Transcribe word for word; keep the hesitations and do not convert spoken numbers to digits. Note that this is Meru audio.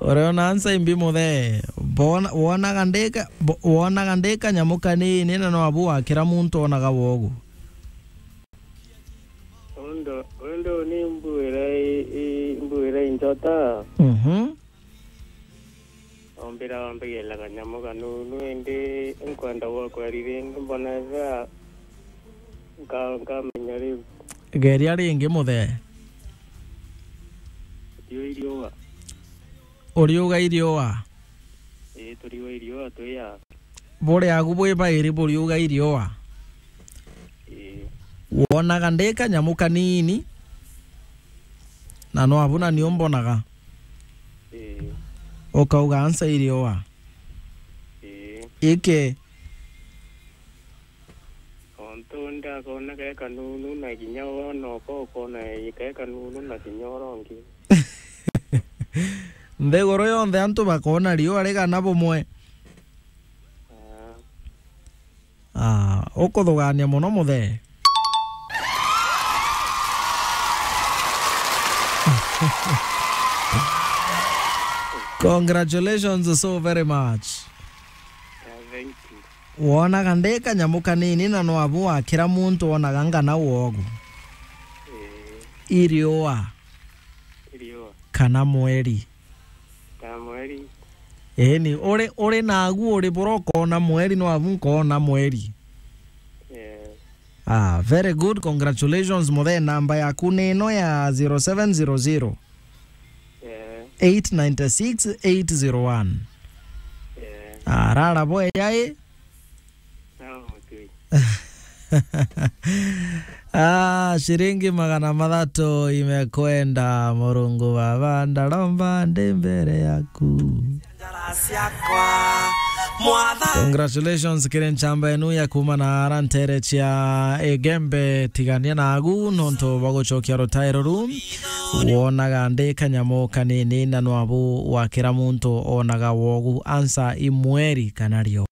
Ureona ansa imbi muthe. Bona, wonaga ndika, bo-, wonaga ndika nyamu kanini na no abu wakira muntu onaga wogu. Undu, undu ni mbuira i, i, mbuira i njota. Mhm. Ombira wambigira kanyamu kanunu, indi nkwenda gwa kweri ringi mbona ethira nka-, nkamenya riu. Geria ringi muthe. Turiuga iriua. Uriuga iriua? Ii, turiuga iriua, twi a. Buri agu bwi bairi buriuga iriua? Ii. Wonaga ndi kanyamu kanini, na no abu na nio mbonaga. Ii. Ukauga ansa iriua. Ii. Iki. Ontu undi akona ke kanunu na kinya wona uko ukona ke kanunu na kinya uria ungi. Nthiguru yonthe antu bakona riua rigana bumwe. Ah. Ah, ukuthugania muno muthe. Congratulations so very much. Ah, thank you. Wonaga ndi kanyamu kanini na no abu wakira muntu wonaga ngana wogu. Ii. Iriua. Iriua. Kana mweri. Kana mweri. Ii, ni uri, uri nagu uri bura ukona mweri no abu nkona mweri. Ii. Ah, very good, congratulations muthe. Namba yaku ni ino ya zero seven zero zero. Eh. Eight nine six eight zero one. Eh. Ah, rara bwe yai. Sawa, okay. Ah, shiringi magana mathatu imekwenda, Murungu Baba, ndaromba ndi mbere yaku. Congratulations kiri nchamba enu ya kuma na ara ntere cia Igembe. Tigania nagu nontu bwa gucokia rutairo ru. Wonaga ndi kanyamu kanini na nwabu wakira muntu onaga wogu. Ansa i mweri kana rio.